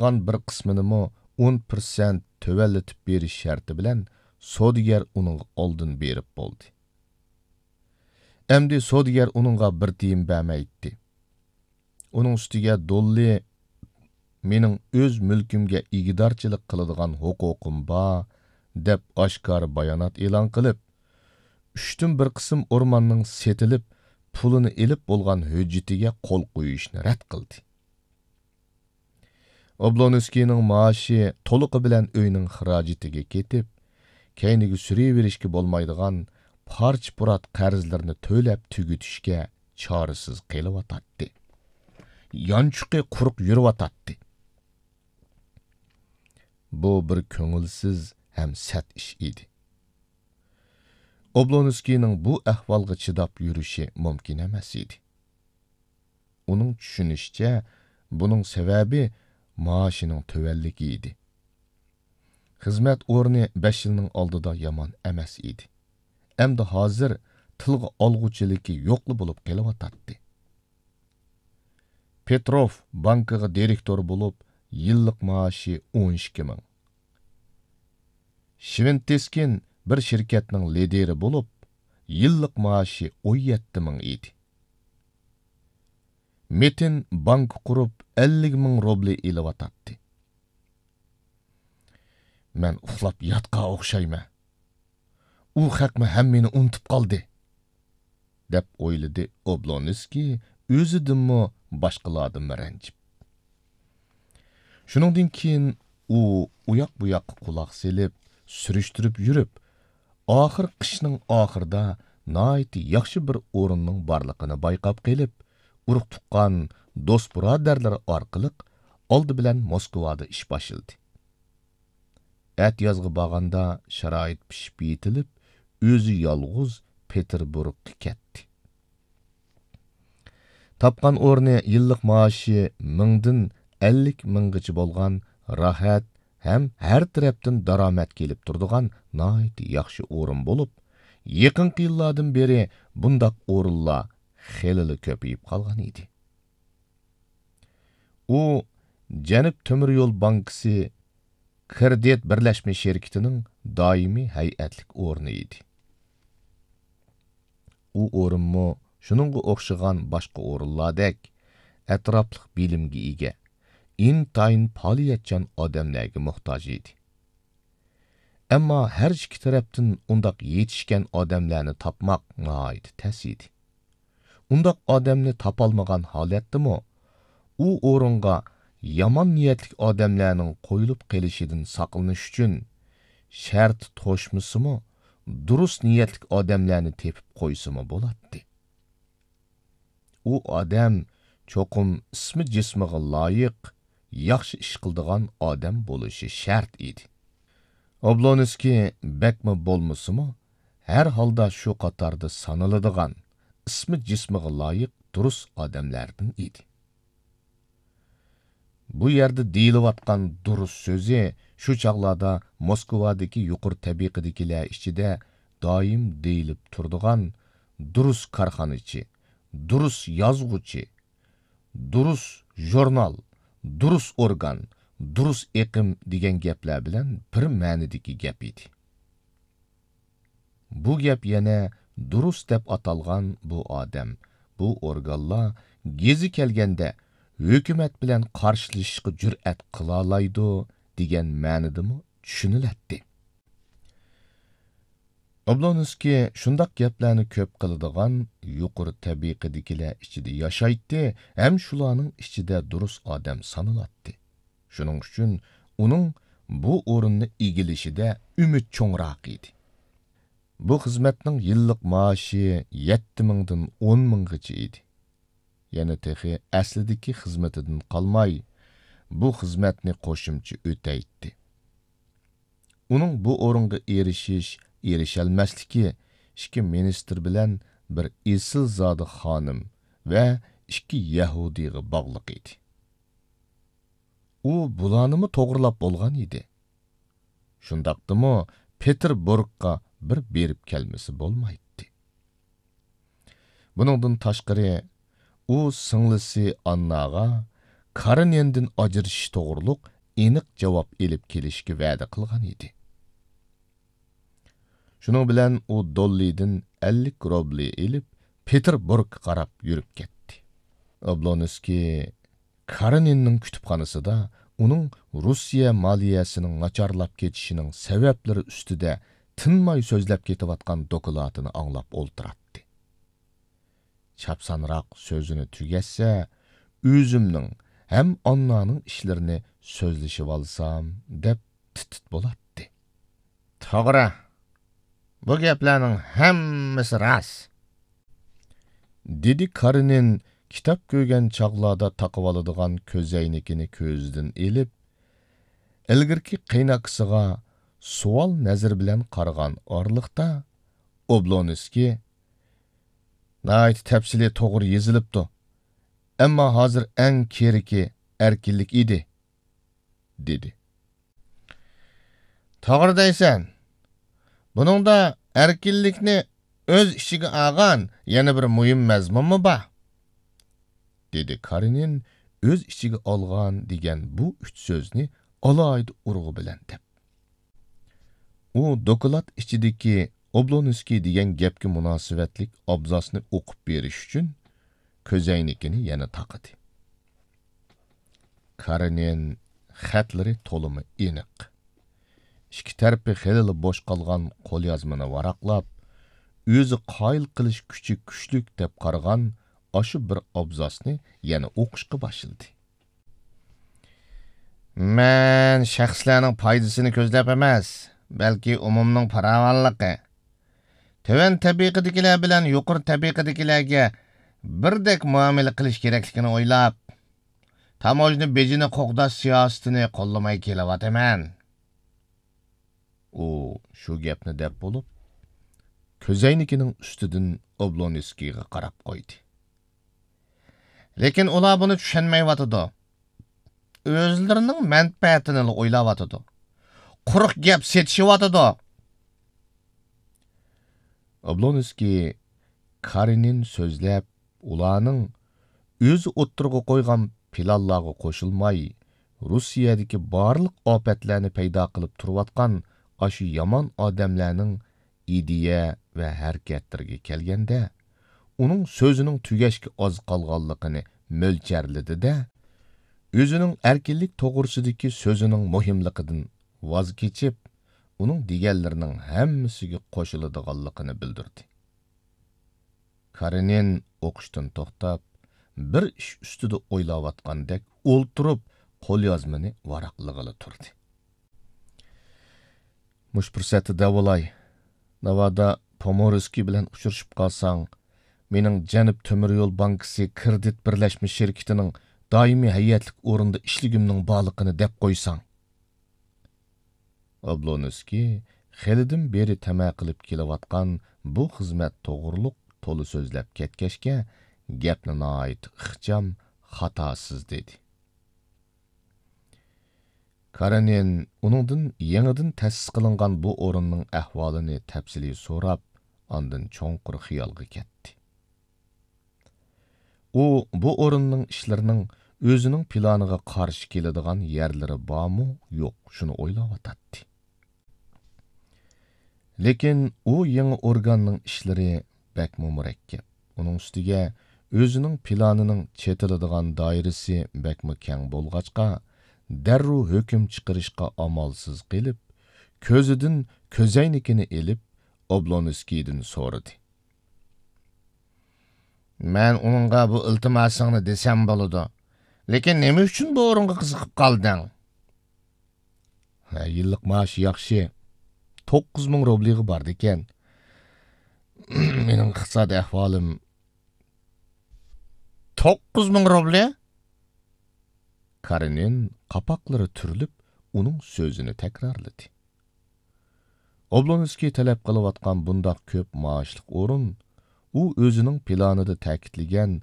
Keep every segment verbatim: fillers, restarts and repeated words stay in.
چىققان بىر قىسمىنىمۇ ئون پىرسەنت تۆۋەنلىتىپ بېرىش شەرتى بىلەن سودىگەر ئۇنىڭغا ئالدىن بېرىپ بولدى. ئەمدى سودىگەر ئۇنىڭغا بىر تىيىن بەرمەيتتى. ئۇنىڭ ئۈستىگە دوللى «مېنىڭ ئۆز مۈلكۈمگە ئىگىدارچىلىق قىلىدىغان ھوقۇقۇم بار» دەپ ئاشكارا بايانات ئېلان قىلىپ، ئۈچتىن بىر قىسىم ئورماننىڭ سېتىلىپ، پۇلىنى ئېلىپ بولغان ھۆججىتىگە قول قويۇشنى رەت قىلدى. ئوبلونسكىينىڭ مائاشى تولۇقى بىلەن ئۆينىڭ خىراجىتىگە كېتىپ، كەينىگە سۈرۈۋېرىشكە بولمايدىغان پارچە-پۇرات قەرزلىرىنى تۆلەپ تۈگىتىشكە چارىسىز قېلىۋاتاتتى. يانچۇقى قۇرۇق يۈرۈۋاتاتتى. بۇ بىر كۆڭۈلسىز ھەم سەت ئىش ئىدى. ئوبلونسكىينىڭ بۇ ئەھۋالغا چىداپ يۈرۈشى مۇمكىن ئەمەس ئىدى. ئۇنىڭ چۈشىنىشىچە، بۇنىڭ سەۋەبى مائاشىنىڭ تۆۋەنلىكى ئىدى. خىزمەت ئورنى بەش يىلنىڭ ئالدىدا يامان ئەمەس ئىدى. ئەمدى ھازىر تىلغا ئالغۇچىلىكى يوقلا بولۇپ قېلىۋاتاتتى. پېتروف بانكىغا دىرېكتور بولۇپ، يىللىق مائاشى ئون ئىككى مىڭ. شۋىنتېسكىن بىر شىركەتنىڭ لىدىرى بولۇپ، يىللىق مائاشى ئون يەتتە مىڭ ئىدى. مېتىن بانكا قۇرۇپ، ئەللىك مىڭ روبلى ئېلىۋاتاتتى. «مەن ئۇخلاپ ياتقان ئوخشايمەن. ئۇ خەقمۇ ھەممىنى ئۇنتۇپ قالدى» دەپ ئويلىدى ئوبلونسكىي، ئۆزىدىنمۇ، باشقىلاردىنمۇ رەنجىپ. شۇنىڭدىن كېيىن ئۇ ئۇياق-بۇياققا قۇلاق سېلىپ، سۈرۈشتۈرۈپ يۈرۈپ، ئاخىر قىشنىڭ ئاخىرىدا ناھايىتى ياخشى بىر ئورۇننىڭ بارلىقىنى بايقاپ قېلىپ، ئۇرۇق-تۇغقان، دوست-بۇرادەرلىرى ئارقىلىق ئالدى بىلەن موسكۋادا ئىش باشلىدى. ئەتىيازغا بارغاندا شارائىت پىشىپ يېتىلىپ، ئۆزى يالغۇز پېتېربۇرگقا كەتتى. تاپقان ئورنى يىللىق مائاشى مىڭدىن ئەللىك مىڭغىچە بولغان راھەت ھەم ھەر تەرەپتىن دارامەت كېلىپ تۇرىدىغان ناھايىتى ياخشى ئورۇن بولۇپ، يېقىنقى يىللاردىن بېرى بۇنداق ئورۇنلار خېلىلا كۆپىيىپ قالغان ئىدى. ئۇ جەنۇب تۆمۈر يول بانكىسى كىردىت بىرلەشمە شىركىتىنىڭ دائىمىي ھەيئەتلىك ئورنى ئىدى. ئۇ ئورۇنمۇ شۇنىڭغا ئوخشىغان باشقا ئورۇنلاردەك ئەتراپلىق بىلىمگە ئىگە، ئىنتايىن پائالىيەتچان ئادەملەرگە موھتاج ئىدى. ئەمما ھەر ئىككى تەرەپتىن ئۇنداق يېتىشكەن ئادەملەرنى تاپماق ناھايىتى تەس ئىدى. ئۇنداق ئادەمنى تاپالمىغان ھالەتتىمۇ، ئۇ ئورۇنغا يامان نىيەتلىك ئادەملەرنىڭ قويۇلۇپ قېلىشىدىن ساقلىنىش ئۈچۈن، شەرتى توشمىسىمۇ، دۇرۇس نىيەتلىك ئادەملەرنى تېپىپ قويسىمۇ بولاتتى. ئۇ ئادەم چوقۇم ئىسمى جىسمىغا لايىق، ياخشى ئىش قىلىدىغان ئادەم بولۇشى شەرت ئىدى. ئوبلونسكىي بەكمۇ بولمىسىمۇ، ھەر ھالدا شۇ قاتاردا سانىلىدىغان، ئىسمى جىسمىغا لايىق دۇرۇس ئادەملەردىن ئىدى. بۇ يەردە دېيىلىۋاتقان دۇرۇس سۆزى شۇ چاغلاردا موسكۋادىكى يۇقىرى تەبىقىدىكىلەر ئىچىدە دائىم دېيىلىپ تۇرىدىغان دۇرۇس كارخانىچى، دۇرۇس يازغۇچى، دۇرۇس ژۇرنال، دۇرۇس ئورگان، دۇرۇس ئېقىم دېگەن گەپلەر بىلەن بىر مەنىدىكى گەپ ئىدى. بۇ گەپ يەنە دۇرۇس دەپ ئاتالغان بۇ ئادەم، بۇ ئورگانلار گېزى كەلگەندە ھۆكۈمەت بىلەن قارشىلىشىشقا جۈرئەت قىلالايدۇ دېگەن مەنىدىمۇ چۈشىنىلەتتى. ئوبلونسكىي شۇنداق گەپلەرنى كۆپ قىلىدىغان يۇقىرى تەبىقىدىكىلەر ئىچىدە ياشايتتى ھەم شۇلارنىڭ ئىچىدە دۇرۇس ئادەم سانىلاتتى. شۇنىڭ ئۈچۈن ئۇنىڭ بۇ ئورۇننى ئىگىلىشىدە ئۈمىد چوڭراق ئىدى. بۇ خىزمەتنىڭ يىللىق مائاشى يەتتە مىڭدىن ئون مىڭغىچە ئىدى. يەنە تېخى ئەسلىدىكى خىزمىتىدىن قالماي، بۇ خىزمەتنى قوشۇمچە ئۆتەيتتى. ئۇنىڭ بۇ ئورۇنغا ئېرىشىش، ئېرىشەلمەسلىكى ئىككى مىنىستىر بىلەن بىر ئېسىلزادە خانىم ۋە ئىككى يەھۇدىيغا باغلىق ئىدى. ئۇ بۇلارنىمۇ توغرىلاپ بولغان ئىدى. شۇنداقتىمۇ پېتېربۇرگقا بىر بېرىپ كەلمىسە بولمايتتى. بۇنىڭدىن تاشقىرى، ئۇ سىڭلىسى ئانناغا كارېنىندىن ئاجرىشىش توغرۇلۇق ئېنىق جاۋاب ئېلىپ كېلىشكە ۋەدە قىلغان ئىدى. شۇنىڭ بىلەن ئۇ دوللىدىن ئەللىك روبلى ئېلىپ، پېتېربۇرگقا قاراپ يۈرۈپ كەتتى. ئوبلونسكىي كارېنىننىڭ كۇتۇپخانىسىدا ئۇنىڭ روسىيە مالىيەسىنىڭ ناچارلاپ كېتىشىنىڭ سەۋەبلىرى ئۈستىدە تىنماي سۆزلەپ كېتىۋاتقان دوكلاتىنى ئاڭلاپ ئولتۇراتتى. چاپسانراق سۆزىنى تۈگەتسە، ئۆزۈمنىڭ ھەم ئاننانىڭ ئىشلىرىنى سۆزلىشىۋالسام، دەپ تىت-تىت بولاتتى. توغرا، بۇ گەپلەرنىڭ ھەممىسى راست، دېدى كارېنىن كىتاب كۆرگەن چاغلاردا تاقىۋالىدىغان كۆزەينىكىنى كۆزىدىن ئېلىپ، ئىلگىرىكى قېيىنئاكىسىغا سوئال نەزىرى بىلەن قارىغان ئارىلىقتا، ئوبلونسكىي، ناھايىتى تەپسىلىي توغرا يېزىلىپتۇ، ئەمما ھازىر ئەڭ كېرىكى ئەركىنلىك ئىدى، دېدى. توغرا دەيسەن. بۇنىڭدا ئەركىنلىكنى ئۆز ئىچىگە ئالغان يەنە بىر مۇھىم مەزمۇنمۇ بار، دېدى كارېنىن ئۆز ئىچىگە ئالغان دېگەن بۇ ئۈچ سۆزنى ئالاھىدە ئۇرغۇ بىلەن دەپ. ئۇ دوكلات ئىچىدىكى ئوبلونسكىي دېگەن گەپكە مۇناسىۋەتلىك ئابزاسنى ئوقۇپ بېرىش ئۈچۈن كۆزەينىكىنى يەنە تاقىدى. كارېنىن خەتلىرى تولىمۇ ئېنىق. ئىككى تەرىپى خېلىلا بوش قالغان قوليازمىنى ۋاراقلاپ، ئۆزى قايىل قىلىش كۈچى كۈچلۈك دەپ قارىغان ئاشۇ بىر ئابزاسنى يەنە ئوقۇشقا باشلىدى. مەن شەخسلەرنىڭ پايدىسىنى كۆزلەپ ئەمەس، بەلكى ئومۇمنىڭ پاراۋانلىقى، تۆۋەن تەبىقىدىكىلەر بىلەن يۇقىرى تەبىقىدىكىلەرگە بىردەك مۇئامىلە قىلىش كېرەكلىكىنى ئويلاپ، تاموژنا بېجىنى قوغداش سىياسىتىنى قوللىماي كېلىۋاتىمەن. ئۇ شۇ گەپنى دەپ بولۇپ، كۆزەينىكىنىڭ ئۈستىدىن ئوبلونسكىيغا قاراپ قويدى. لېكىن ئۇلار بۇنى چۈشەنمەيۋاتىدۇ. ئۆزلىرىنىڭ مەنپەئەتىنىلا ئويلاۋاتىدۇ. قۇرۇق گەپ سېتىشىۋاتىدۇ. ئوبلونسكىي كارېنىن سۆزلەپ، ئۇلارنىڭ ئۆزى ئوتتۇرىغا قويغان پىلانلارغا قوشۇلماي، روسىيەدىكى بارلىق ئاپەتلەرنى پەيدا قىلىپ تۇرۇۋاتقان ئاشۇ يامان ئادەملەرنىڭ ئىدىيە ۋە ھەرىكەتلىرىگە كەلگەندە، ئۇنىڭ سۆزىنىڭ تۈگەشكە ئاز قالغانلىقىنى مۆلچەرلىدى-دە، ئۆزىنىڭ ئەركىنلىك توغرىسىدىكى سۆزىنىڭ مۇھىملىقىدىن ۋاز كېچىپ، ئۇنىڭ دېگەنلىرىنىڭ ھەممىسىگە قوشۇلىدىغانلىقىنى بىلدۈردى. كارېنىن ئوقۇشتىن توختاپ، بىر ئىش ئۈستىدە ئويلاۋاتقاندەك ئولتۇرۇپ، قوليازمىنى ۋاراقلىغىلى تۇردى. مۇشۇ پۇرسەتتە دەۋالاي، ناۋادا پومورسكىي بىلەن ئۇچرىشىپ قالساڭ، مېنىڭ جەنۇب تۆمۈر يول بانكىسى كىرېدىت بىرلەشمە شىركىتىنىڭ دائىمىي ھەيئەتلىك ئورنىدا ئىشلىگۈمنىڭ بارلىقىنى دەپ قويساڭ. ئوبلونسكىي خېلىدىن بېرى تەمە قىلىپ كېلىۋاتقان بۇ خىزمەت توغرۇلۇق تولا سۆزلەپ كەتكەچكە، گەپنى ناھايىتى ئىخچام، خاتاسىز دېدى. كارېنىن ئۇنىڭدىن يېڭىدىن تەسىس قىلىنغان بۇ ئورۇننىڭ ئەھۋالىنى تەپسىلىي سوراپ، ئاندىن چوڭقۇر خىيالغا كەتتى. ئۇ بۇ ئورۇننىڭ ئىشلىرىنىڭ ئۆزىنىڭ پىلانىغا قارشى كېلىدىغان يەرلىرى بارمۇ، يوق، شۇنى ئويلاۋاتاتتى. لېكىن ئۇ يېڭى ئورگاننىڭ ئىشلىرى بەكمۇ مۇرەككەپ. ئۇنىڭ ئۈستىگە ئۆزىنىڭ پىلانىنىڭ چېتىلىدىغان دائىرىسى بەكمۇ كەڭ بولغاچقا، دەررۇ ھۆكۈم چىقىرىشقا ئامالسىز قېلىپ، كۆزىدىن كۆزەينىكىنى ئېلىپ، ئوبلونسكىيدىن سورىدى. مەن ئۇنىڭغا بۇ ئىلتىماسىڭنى دېسەم بولىدۇ. لېكىن نېمە ئۈچۈن بۇ ئورۇنغا قىزىقىپ قالدىڭ؟ ھە، يىللىق مائاشى ياخشى. توققۇز مىڭ روبلىغا بارىدىكەن. مېنىڭ ئىقتىسادىي ئەھۋالىم. توققۇز مىڭ روبلى؟ كارېنىن قاپاقلىرى تۈرۈلۈپ، ئۇنىڭ سۆزىنى تەكرارلىدى. ئوبلونسكىي تەلەپ قىلىۋاتقان بۇنداق كۆپ مائاشلىق ئورۇن، ئۇ ئۆزىنىڭ پىلانىدا تەكىتلىگەن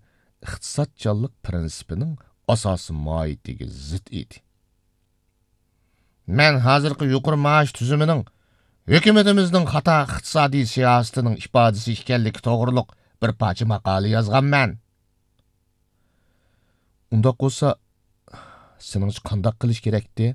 ئىقتىسادچانلىق پىرىنسىپىنىڭ ئاساسىي ماھىيىتىگە زىت ئىدى. مەن ھازىرقى يۇقىرى مائاش تۈزۈمىنىڭ ھۆكۈمىتىمىزنىڭ خاتا ئىقتىسادىي سىياسىتىنىڭ ئىپادىسى ئىكەنلىكى توغرۇلۇق بىر پارچە ماقالە يازغانمەن. ئۇنداق بولسا، سېنىڭچە قانداق قىلىش كېرەكتى؟